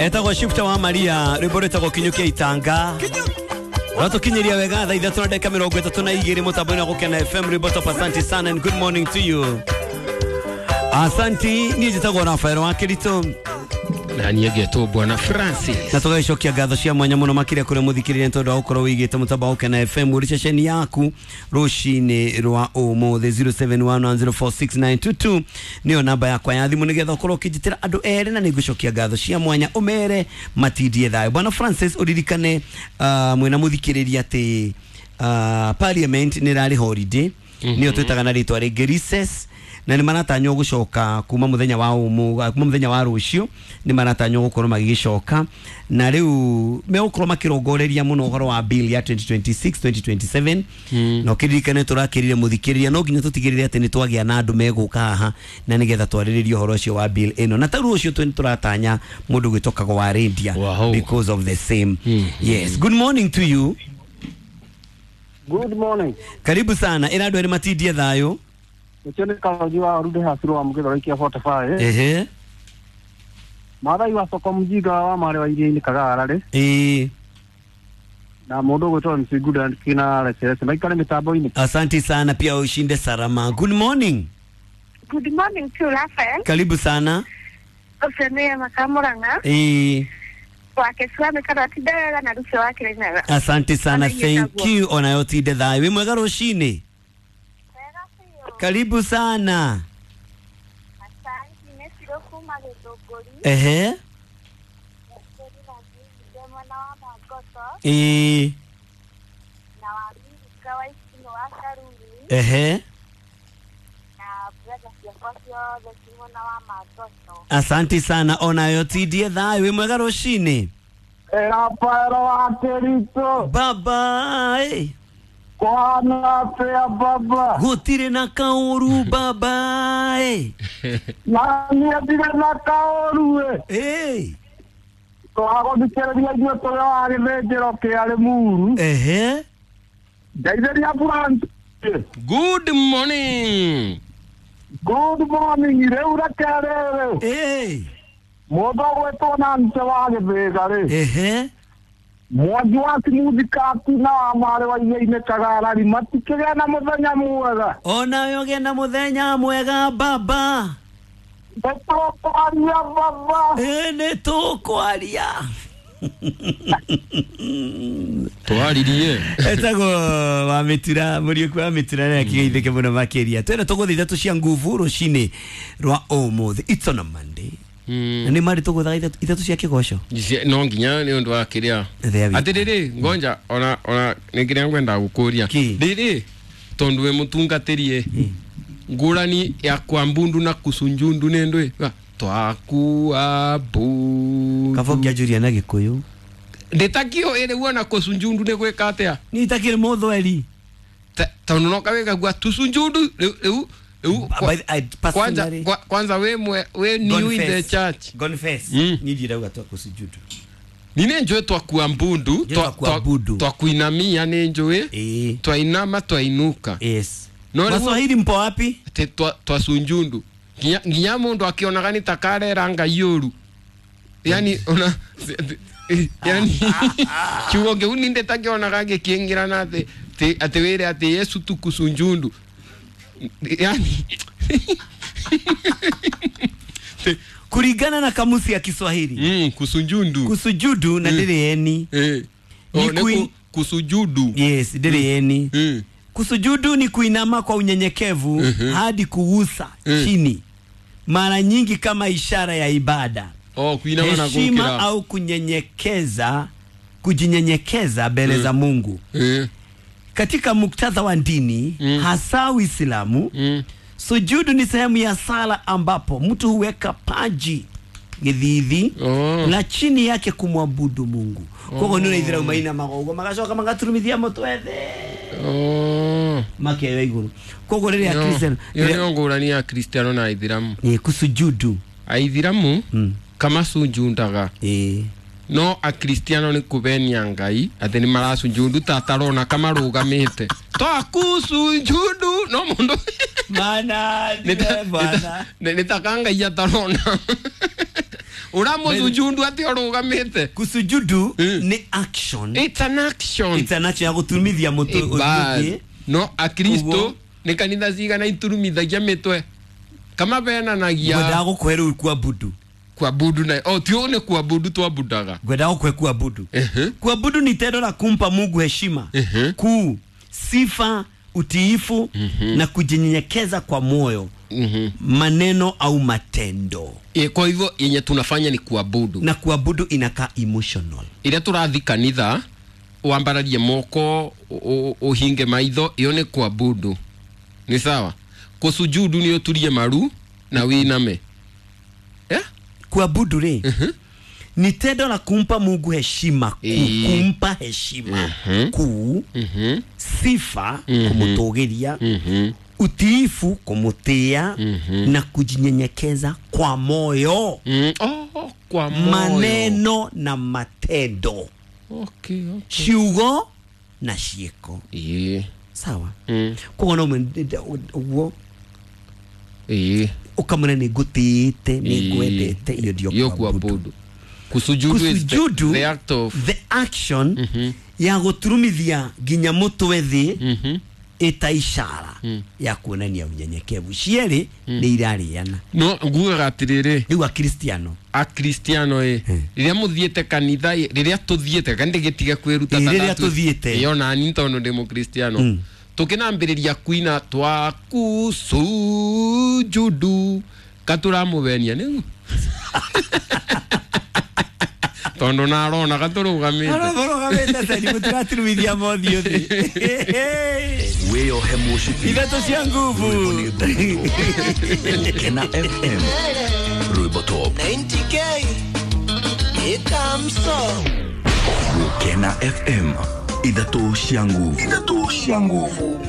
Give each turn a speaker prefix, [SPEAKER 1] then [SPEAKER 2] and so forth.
[SPEAKER 1] Etagwo Shifter wa Maria rwimbo rwĩtagwo Kinyũkia Itanga. Rwatũkinyĩria wega thaa ithatũ na ndagĩka mĩrongo ĩtatũ na igĩrĩ mũtambo-inĩ wa Gũkena FM rwimbo top. Asante sana and good morning to you. Asanti, niĩ njĩtagwo Rafael wa Kĩritũ.
[SPEAKER 2] Na niĩ ngetwo Bwana Francis.
[SPEAKER 1] Na tũgagĩcokia ngatho cia mwanya mũno makĩria kũrĩ mũthikĩrĩria nĩ tondũ wa gũkorwo wĩigĩte mũtambo wa Gũkena FM ũrĩ ceceni yaku rũcinĩ rwa ũmũthĩ. 0711046922 nĩyo namba yakwa ya thimũ nĩgetha ũkorwo ũkĩnjĩtĩra andũ erĩ na nĩngũcokia ngatho cia mwanya ũmere matindie thayũ. Bwana Francis, ũririkane mwĩna mũthikĩrĩria atĩ parliament nĩ ĩrarĩ holiday, nĩyo twĩtaga na rĩtwa rĩngĩ recess, na nĩ maratanywo gũcoka kuma mũthenya wa ũmũ, kuma mũthenya wa rũciũ nĩ maratanywo gũkorwo magĩgĩcoka, na rĩu megũkorwo makĩrongoreria mũno ũhoro wa bill ya 2026 2027. Na ũkĩririkane tũrakĩrire mũthikĩrĩria no nginya tũtigĩrĩre atĩ nĩ twagĩa na andũ megũka haha na nĩgetha twarĩrĩrie ũhoro ũcio wa bill ĩno, na ta rũciũ tũ tũratanya mũndũ gwĩtwo Kago wa Rendia because of the same. Yes, good morning to you.
[SPEAKER 3] Good morning.
[SPEAKER 1] Karibu sana. Ĩra andũ erĩ matindie thayũ.
[SPEAKER 3] Ũcio nĩ Karonji wa Rude Hasiro wa Mũgĩthoro ikia 45.
[SPEAKER 1] Ehe.
[SPEAKER 3] Maathai wa soko mjinga wa marĩ wa iria-inĩ Kagara rĩ.
[SPEAKER 1] Ĩĩ.
[SPEAKER 3] Na mũndũ ũgwĩtwo MC Good kina Leserese maikare mĩtambo-inĩ.
[SPEAKER 1] Asante sana pia ushinde salama. Good morning.
[SPEAKER 4] Good morning to Rafael.
[SPEAKER 1] Karibu sana.
[SPEAKER 4] Ũcio nĩ Makamũrang'a.
[SPEAKER 1] Ĩĩ.
[SPEAKER 4] Wake Swami kana tinda wega na rũcio wa Kĩrĩnyaga.
[SPEAKER 1] Asante sana, thank you. Onayo tinde thayũ. Wĩ mwega rũcinĩ? Karibu sana.
[SPEAKER 4] Asante, nĩ Ciro kuma Gĩthũngũri.
[SPEAKER 1] Ehe. Ĩĩ.
[SPEAKER 4] Na wa Mirika wa Icinũ wa Karuri.
[SPEAKER 1] Ehe.
[SPEAKER 4] Na brother ciakwa ciothe ci mwena wa Mangoto.
[SPEAKER 1] Asante sana, onayo tindie thayũ. Wĩ mwega rũcinĩ?
[SPEAKER 3] Rafael wa Kĩritũ.
[SPEAKER 1] Baba.
[SPEAKER 3] Kwana atĩa baba?
[SPEAKER 1] Gũtirĩ na kaũru baba.
[SPEAKER 3] Na niĩ ndirĩ na kaũru
[SPEAKER 1] ĩ.
[SPEAKER 3] Twagũthikĩrĩria ithuĩ tũrĩ wa gĩthĩnjĩro kĩa Rĩmuru.
[SPEAKER 1] Ehe.
[SPEAKER 3] Ngeithĩria Francis.
[SPEAKER 2] Good morning.
[SPEAKER 3] Good morning. Rĩu reke rĩrĩ.
[SPEAKER 1] Ĩĩ.
[SPEAKER 3] Mũndũ ũgwĩtwo Nancy wa Gĩthĩga rĩ.
[SPEAKER 1] Ehe.
[SPEAKER 3] Mwangi wa Simuthi Kati na wa marĩ wa iria-inĩ Kagarari matikĩgĩa na mũthenya mwega.
[SPEAKER 1] Onawe ũgĩe na mũthenya mwega baba.
[SPEAKER 3] Nĩtũkwaria baba.
[SPEAKER 1] Ĩ nĩtũkwaria.
[SPEAKER 2] Twaririe.
[SPEAKER 1] Etagwo wa Mĩtura, Mũriũki wa Mĩtura na akĩgeithĩke mũno makĩria. Twĩna tũgũthiĩ ithatũ cia nguvu rũcinĩ rwa ũmũthĩ. It's on a Monday. Na nĩ marĩ tũgũthaga ithatũ cia kĩgoco.
[SPEAKER 2] No nginya nĩ ũndũ wa kĩrĩa. Atĩrĩrĩ, ngonja ona nĩ kĩrĩa ngwenda gũkũria. Rĩrĩ tondũ wĩ mũtungatĩrie ngũrani ya kwambundu na kusunjundu nĩ ndũĩ? Twakuabudu.
[SPEAKER 1] Kaba ũngĩanjũria na Gĩkũyũ.
[SPEAKER 2] Ndĩtakio ĩrĩ wona kusunjundu nĩ gwĩka atĩa?
[SPEAKER 1] Niĩ itakĩrĩ mũthweri.
[SPEAKER 2] Tondũ no kawĩga gua tusunjundu rĩu rĩu kwanza we we new in the church.
[SPEAKER 1] Confess. Niĩ ndirauga twakusujudu.
[SPEAKER 2] Ni nĩ njũĩ twakuambundu, twakuinamia nĩ njũĩ, twainama twainuka.
[SPEAKER 1] Yes. Waswahili mpo wapi?
[SPEAKER 2] Twasunjundu. Nginya mũndũ akĩonaga nĩ ta karera Ngai ũru. Yani ona yani kiugo kĩu nĩ ndĩtakĩonaga gĩkĩingĩrana atĩ atĩ wĩre atĩ Yesu tukusunjundu. Yani
[SPEAKER 1] kulingana na kamusi ya Kiswahili.
[SPEAKER 2] Kusunjundu.
[SPEAKER 1] Kusujudu na ndĩrĩ eni.
[SPEAKER 2] Ni kusujudu.
[SPEAKER 1] Yes, ndĩrĩ eni. Kusujudu ni kuinama kwa unyenyekevu hadi kugusa chini. Mara nyingi kama ishara ya ibada.
[SPEAKER 2] Kuinama na
[SPEAKER 1] heshima au kunyenyekeza, kujinyenyekeza mbele za Mungu. Katika muktadha wa dini, hasa Uislamu, sujudu ni sehemu ya sala ambapo mtu huweka paji githithi na chini yake kumwabudu Mungu. Koguo nĩ ũraithĩra maina magogo magacoka magaturumithia mũtwe thĩ. Makeoya igũrũ. Koguo rĩrĩa Kristiano
[SPEAKER 2] ĩyo nĩyo ngũrani ya Kristiano na Aithĩramu.
[SPEAKER 1] Ĩ kusujudu.
[SPEAKER 2] Aithĩramu kamasunjundaga. No Akristiano nĩ kũbenia Ngai atĩ nĩ marasunjundu ta atarona kamarũgamĩte. Twakusunjundu no mũndũ
[SPEAKER 1] mana bwana
[SPEAKER 2] nĩ ta ka Ngai atarona. Uramusujudu ati urugamite.
[SPEAKER 1] Kusujudu ni action.
[SPEAKER 2] It's an action.
[SPEAKER 1] It's an action ya guturumithia mutwe
[SPEAKER 2] Bas.
[SPEAKER 1] ũthiĩ.
[SPEAKER 2] No akristo
[SPEAKER 1] Ũguo.
[SPEAKER 2] nĩ kanitha cigana iturumithagia mĩtwe kama benanagia.
[SPEAKER 1] Ngwendaga gũkũhe rĩu kuabudu.
[SPEAKER 2] Kuabudu na oh tio nĩ kuabudu twabudaga.
[SPEAKER 1] Ngwendaga gũkũhe kuabudu.
[SPEAKER 2] Ehe.
[SPEAKER 1] Kuabudu ni tendo la kumpa Mungu heshima kuu, sifa, utiifu na kujinyenyekeza kwa moyo, maneno au matendo.
[SPEAKER 2] E, kwa hivyo yenye tunafanya ni kuabudu.
[SPEAKER 1] Na kuabudu inakaa emotional.
[SPEAKER 2] Ĩrĩa tũrathi kanitha wambararie moko ũhinge maitho iyo nĩ kuabudu, nĩ sawa. Kusujudu nĩ ũturie maru na wĩiname, eh?
[SPEAKER 1] Kuabudu rĩ ni tendo la kumpa Mungu heshima kuu, kumpa heshima kuu, sifa kumutũgĩria, utiifu kumutia, na kujinyenyekeza kwa moyo,
[SPEAKER 2] Oh, kwa moyo.
[SPEAKER 1] maneno na matendo.
[SPEAKER 2] Okay.
[SPEAKER 1] Ciugo na ciĩko.
[SPEAKER 2] Ĩĩ.
[SPEAKER 1] Sawa. Koguo no ũguo ũkamwĩra nĩ ngũtĩĩte, nĩ ngwendete, iyo ndio
[SPEAKER 2] Iyo
[SPEAKER 1] kuabudu.
[SPEAKER 2] kuabudu. Kusujudu is
[SPEAKER 1] Kusujudu,
[SPEAKER 2] the act of
[SPEAKER 1] the action ya gũturumithia nginya mũtwe thĩ ĩta ishara ya kuonania unyenyekevu. Cierĩ nĩ irarĩana.
[SPEAKER 2] No ngugaga atirĩrĩ,
[SPEAKER 1] Rĩu akristiano,
[SPEAKER 2] akristiano ĩ, rĩrĩa mũthiĩte kanitha ĩ, rĩrĩa tũthiĩte kandi gĩtige kwĩruta
[SPEAKER 1] Ĩ,
[SPEAKER 2] ta
[SPEAKER 1] rĩrĩa tũthiĩte.
[SPEAKER 2] Ĩ, ona ni tondũ ndĩ mũkristiano, tũkĩnambĩrĩria kuina twakusujudu katũramũbenia nĩgu tondũ narona katũrũgamĩte.
[SPEAKER 1] Arũgamĩte ceni mũtiraturumithia mothiũ thĩ.
[SPEAKER 5] Wĩyohe mũcibi.
[SPEAKER 1] Ithatũ cia nguvu.
[SPEAKER 5] Rwĩmbo nĩ Rwĩmbo. Kena FM Rwĩmbo Top.
[SPEAKER 6] 90K ikamso.
[SPEAKER 5] Gũkena FM, ithatũ cia nguvu, ithatũ cia nguvu.